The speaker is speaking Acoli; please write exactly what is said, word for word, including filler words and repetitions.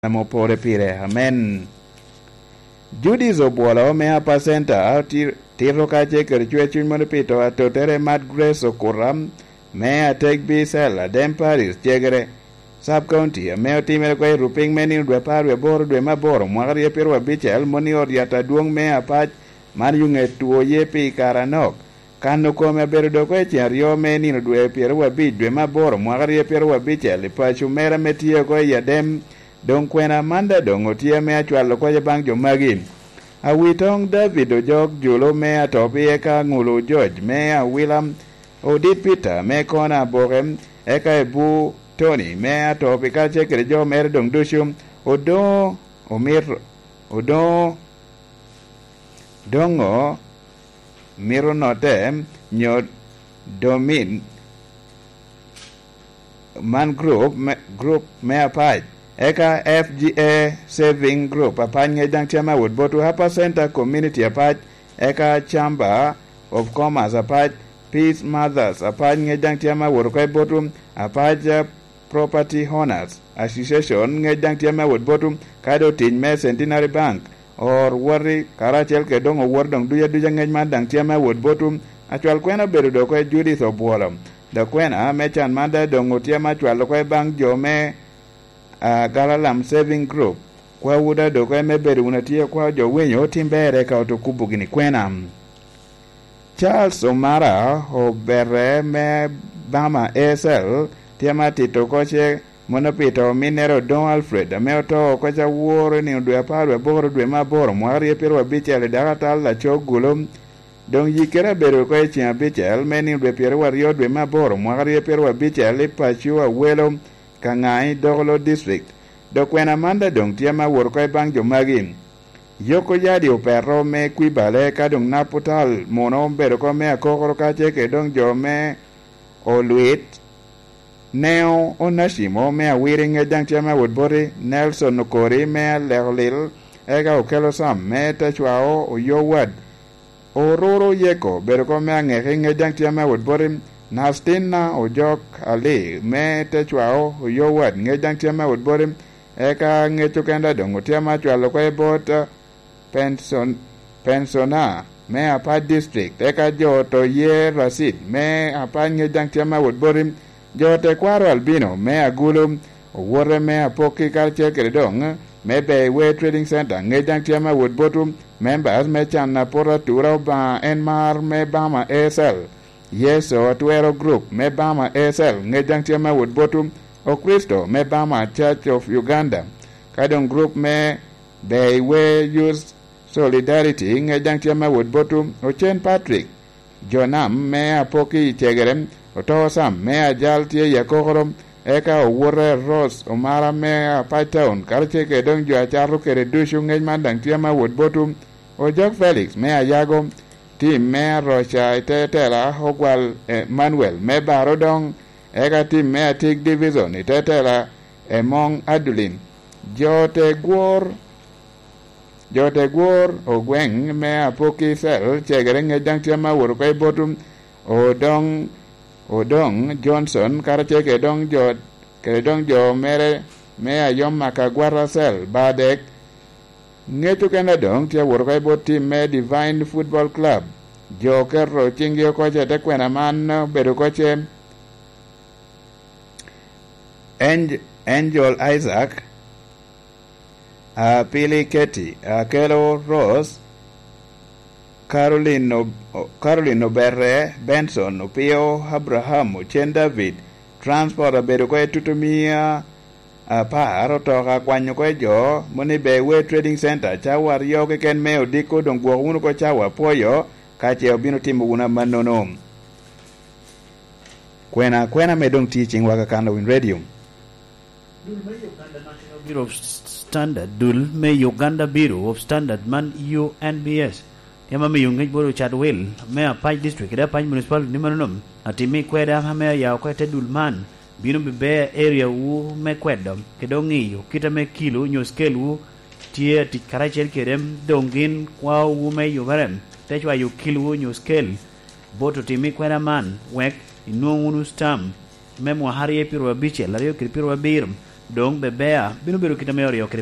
Mopore pire. Amen. Judis obwolo me apa center tiro kace kede cwe cuny mono pito atotere mat Grace Okura me atek bi sel adem Paris cegere sub county ame otimere kwa iruping me nino dwe apar wiye aboro dwe maboro mwaka aryo piero abicel moni oryat adwong me apac man yunge tuo ye pi karanok kano kome abedo doko e ceng aryo me nino dwe piero abic dwe maboro mwaka aryo piero abicel i paco mere me tio ko i adem dong kwena manda dong otie me acwalo kwaca bang jo magi awitong David Ojok Julo me atopi eka Ngulu George me awila Odit Peter me kona aboke eka ebu Tony me atopi kace kede jo mere dong ducu odo omir odo dongo miro note nyo domin man group me, group me apac eka F G A Saving Group apac ngec dang tye ma wot botu Upper Center Community apac eka Chamber of Commerce apac Peace Mothers apac ngec dang tye ma wot koy botu apac Property Owners Association ngec dang tye ma wot botu kado tic me Centenary Bank or wori karacel ke dong owor dong duja duja ngec man dang tye ma wot botu acwal kwena bedo doko e Judith Obwolo do kwena me chan manda dong otie ma cwalo koy bang jo me uh, Galalam Saving Group kwa wuda doko me bedo una tie kwa jo winyo timbere ka otokubu gini kwena Charles Omara obere me Bama S L tie ma tito koche monopito minero Don Alfred ame oto kocha wuoro ni dwe apar we boro dwe maboro mwaka aryo piero abicel daka tal laco gulo dong yikere bedo ko e chieng' abicel me ni dwe piero aryo dwe maboro mwaka aryo piero abicel i paco awelo Kangai Dokolo District do kwena manda dong tye ma wor ko e bang jo magi Yoko yadi opero me kwibale ka dong naputal mono bedo ko me akokoro ka cheke dong jo me olwit Neo Onashimo me awiri nge dang tye ma wot boti Nelson Okori me alekolil eka okelo sam me techwao oyowad Ororo Yeko bedo ko me angeki nge dang tye ma wot boti Nastina Ojok Ali me techwao oyowad nge dang tye ma wot boti eka ngecho kenda dong otie ma chwalo ko e bot pension pensiona me apa district eka jo to ye rasid me apa nge dang tye ma wot boti jo te kwaro albino me agulu owore me apoki karche kede dong me Bayway Trading Center nge dang tye ma wot botu members me chan na pora tura ba enmar me Bama S L Yeso Atwero Group me Bama S L nge dang tye ma wot botu Okristo me Bama Church of Uganda kadong group me Bayway Youth Solidarity nge dang tye ma wot botu Ochen Patrick Jonam me apoki chegere Oto Sam me ajal tye yakokoro eka owore Rose Omara me Apai Town karche ke dong jo acharo kere dusu ngej man dang tye ma wot botu Ojok Felix me ayago tim me Rocha itetela Ogwal eh, Manuel me Baro dong eka tim me Atik Division itetela Emong Adulin jo te gwor jo te gwor ogweng me apoki sel chegere ngej dang tye ma wot ko botu Odong Odong Johnson karache ke dong jo ke dong jo mere me ayom makagwara sel badek ngecho kenda dong tye wot ko bot tim me Divine Football Club jo kero chingi koche te kwena man bedo koche Angel Isaac uh, Pili Keti uh, Kelo Rose Caroline o, Caroline Oberre Benson Opio Abraham Ochen David Transport abedo ko tutumia apar otoka kwanyo ko jo moni Bayway Trading Center chawa aryo keken me odiko dong gwoko wunu ko chawa poyo kache obino timo wuna manono kwena kwena me dong teaching waka kando win radio Dul me Uganda National Bureau of Standard Dul me Uganda Bureau of Standard man U N B S Yama mi yungej bodo Chadwell me Apac District ida Apac Municipality ni manonom atimi kweda me yaw kwete dul man bino bibe area wu me kwedo kedo ng'iyo kita me kilo nyo scale wu tie tic karacel kedem dongin kwa wu me yubarem techwa yu kilo wu nyo scale boto timi kweda man wek inwong unu stam me mwahari e piro abichel ariyo kiri piro abirim Dong bebea bino bedo kita me oryo kede